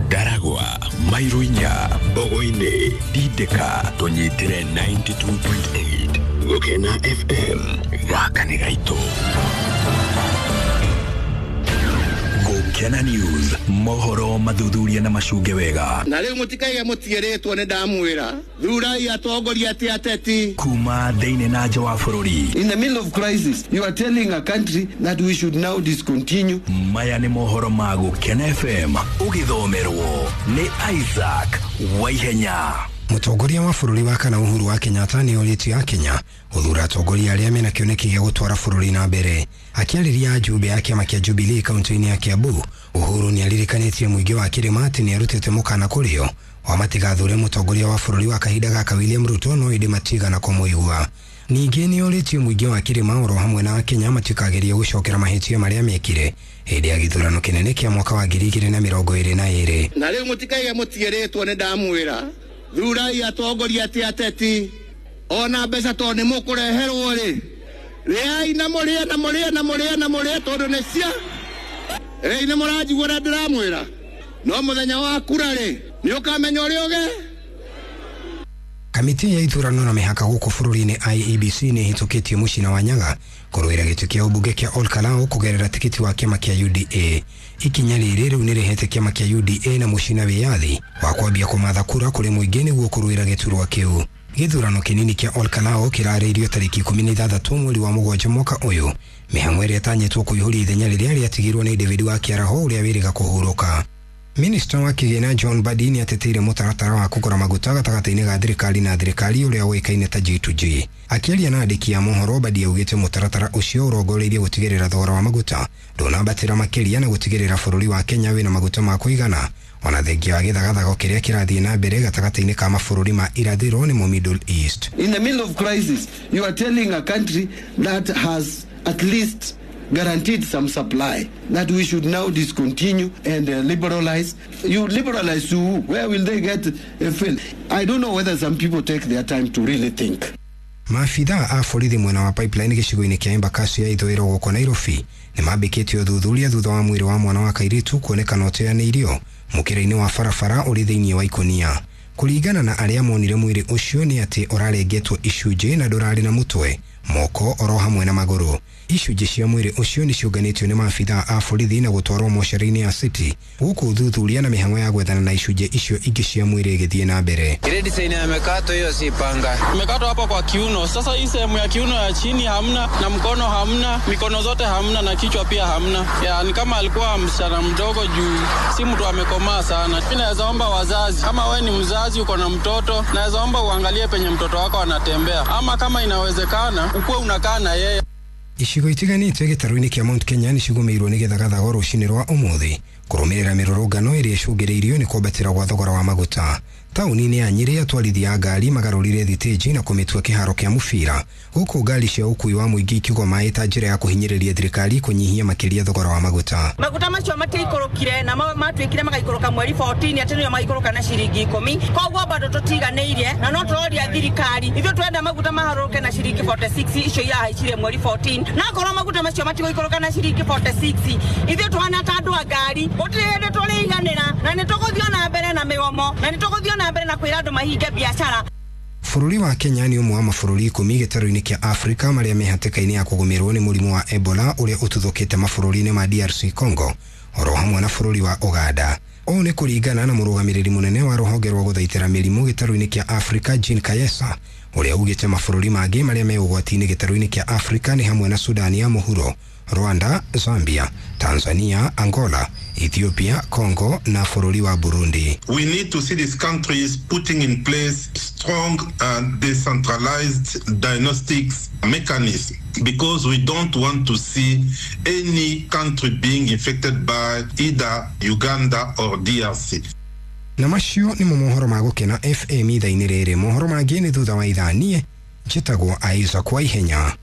Ndaragwa, Mairuinya, Mbogo-inĩ, Dideka, tũnyitĩre 92.8 Gũkena FM, gaka nĩ gaitũ. Gũkena News, mohoro mathuthuria na macunge wega. Na rĩu mũtikaige mũtigĩrĩtwo nĩ ndamwĩra, thurai atongoria ti ateti. Kuma thĩinĩ na nja wa bũrũri. In the middle of crisis, you are telling a country that we should now discontinue. Maya nĩ mohoro ma Gũkena FM, ũgĩthomerwo nĩ Isaac Waihenya. Mũtongoria wa bũrũri wa kana Uhuru wa Kenyatta nĩ orĩtie Akenya gũthura atongoria arĩa mena kĩoneki gĩa gũtwara bũrũri na mbere. Akĩarĩria ajumbe a kĩama kĩa Jubilee kaunti-inĩ ya Kiambu, Uhuru nĩ aririkanĩtie mũingĩ wa kĩrĩma atĩ nĩ arutĩte mũkana kũrĩo wa matigathure mũtongoria wa bũrũri wa kahinda gaka William Ruto, no ĩndĩ matigana kũmũigua. Ningĩ nĩ orĩtie mũingĩ wa kĩrĩma oro hamwe na Akenya matikagerie gũcokera mahĩtia marĩa mekire hĩndĩ ya gĩthurano kĩnene kĩa mwaka wa 2022. Na rĩu mũtikaige mũtigĩrĩtwo nĩ ndamwĩra, thurai atongoria ti ateti. Ona mbeca tondũ nĩ mũkũreherwo rĩ, rĩai na mũrĩe na mũrĩe na mũrĩe na mũrĩe tondũ nĩ cia. Rĩu nĩ mũranjigua ũrĩa ndĩramwĩra, no mũthenya wa kura rĩ, nĩ ũkamenya ũrĩa ũge. Kamĩtĩ ya ithurano na mĩhaka gũkũ bũrũri-inĩ IEBC nĩ ĩhĩtũkĩtie Mũcina wa Nyaga kũrũĩra gĩtĩ kĩa ũmbunge kĩa Ol Kalou kũgerera tikiti wa kĩama kĩa UDA. Ikinya rĩrĩ rĩu nĩ rĩhete kĩama kĩa UDA na Mũcina wĩyathi wa kwambia kũmatha kura kũrĩ mũingĩ nĩguo kũrũĩra gĩturwa kĩu. Gĩthurano kĩnini kĩa Ol Kalou kĩrarĩirio tarĩki 16 mweri wa mũgwanja mwaka ũyũ, mĩhang'o ĩrĩa ĩtanyĩtwo kũihũria ithenya rĩrĩa rĩatigirwo nĩ David wa Kĩaraho ũrĩa wĩrĩga kũhurũka. Minista wa kĩgĩna John Mbadi nĩ ateteire mũtaratara wa kũgũra maguta gatagatĩ-inĩ ga thirikari na thirikari ũrĩa ũĩkaine ta G2G. Akĩaria na andĩki a mohoro, Mbadi augĩte mũtaratara ũcio ũrongoreirie gũtigĩrĩra thogora wa maguta ndũnambatĩra makĩria na gũtigĩrĩra bũrũri wa Kenya wĩna maguta ma kũigana, ona thengia wa gĩthagathago kĩrĩa kĩrathiĩ na mbere gatagatĩ-inĩ ka mabũrũri ma irathĩro nĩmo Middle East. In the middle of crisis, you are telling a country that has at least guaranteed some supply that we should now discontinue and liberalize. You liberalize to who? Where will they get a fill? I don't know whether some people take their time to really think. Maabithaa a borithi mwena wa Pipeline gĩcigo-inĩ kĩa Embakasi ya ithũĩro gũkũ Nairobi nĩ mambĩkĩte ũthuthuria thutha wa mwĩrĩ wa mwana wa kairĩtu kuonekana ũteanĩirio mũkĩra-inĩ wa barabara ũrĩ thĩinĩ wa ikũnia. Kũringana na arĩa monire mwĩrĩ ũcio nĩ atĩ ũrarengetwo icunjĩ na ndũrarĩ na mũtwe, moko oro hamwe na magũrũ. Icunjĩ cia mwĩrĩ ũcio nĩ ciũnganĩtio nĩ maabithaa a borithi na gũtwarwo mocarĩ-inĩ ya City, gũkũ ũthuthuria na mĩhang'o ya gwethana na icunjĩ icio ingĩ cia mwĩrĩ ĩgĩthiĩ na mbere. Ile design ya mekato hiyo si panga. Imekatwa hapa kwa kiuno. Sasa hii sehemu ya kiuno ya chini hamna, na mkono hamna, mikono zote hamna na kichwa pia hamna. Ya, ni kama alikuwa msichana mdogo juu si mtu amekomaa sana. Mimi naweza omba wazazi, kama we ni mzazi uko na mtoto, naweza omba uangalie penye mtoto wako anatembea, ama kama inawezekana ukuwe unakaa na yeye. Icigo itiganĩte gĩtarũ-inĩ kĩa Mount Kenya nĩ cigũmĩirwo nĩ gĩthagathago rũcinĩ rwa ũmũthĩ kũrũmĩrĩra mĩrũrũngano ĩrĩa ĩcũngĩrĩirio nĩ kwambatĩra gwa thogora wa maguta. Taũni-inĩ ya Nyĩrĩ atwarithia a ngari magarũrire thitĩnji na kũmĩtua kĩharo kĩa mũbira, gũkũ ngari cia ũkuui wa mũingĩ ikĩgwa maĩ ta njĩra ya kũhinyĩrĩria thirikari kũnyihia makĩria thogora wa maguta. Maguta macio matiikũrũkire na matuĩkire magaikũrũka mweri 14 atĩ nĩo maikũrũka na ciringi 10, koguo bado tũtiganĩirie na no tũroria thirikari ithuĩ twenda maguta maharũrũke na ciringi 46 icio irahaicire mweri 14, na korwo maguta macio matigũikũrũka na ciringi 46 ithuĩ tũhana ta andũ a ngari gũtirĩ hĩndĩ tũrĩiganĩra na nĩ tũgũthiĩ na mbere na mĩgomo na nĩ tũgũthiĩ na mbere na kwĩra andũ mahinge biacara. Bũrũri wa Kenya nĩ ũmwe wa mabũrũri 10 gĩtarũ-inĩ kĩa Afrika marĩa me hatĩka-inĩ ya kũgũmĩrwo nĩ mũrimũ wa Ebola ũrĩa ũtuthũkĩte mabũrũri-inĩ ma DRC Congo oro hamwe na bũrũri wa Uganda. Ũũ nĩ kũringana na mũrũgamĩrĩri mũnene wa rũhonge rwa gũthaitĩra mĩrimũ gĩtarũ-inĩ kĩa Afrika Jean Kayesa, ũrĩa ugĩte mabũrũri mangĩ marĩa me ũgwati-inĩ gĩtarũ-inĩ kĩa Afrika nĩ hamwe na Sudani ya Mũhuro, Rwanda, Zambia, Tanzania, Angola, Ethiopia, Congo na bũrũri wa Burundi. We need to see these countries putting in place strong and decentralized diagnostics mechanisms, because we don't want to see any country being infected by either Uganda or DRC. Na macio nĩmo mohoro ma Gũkena FM ithaa-inĩ rĩrĩ. Mohoro mangĩ nĩ thutha wa ithaa. Niĩ njĩtagwo Isaac Waihenya.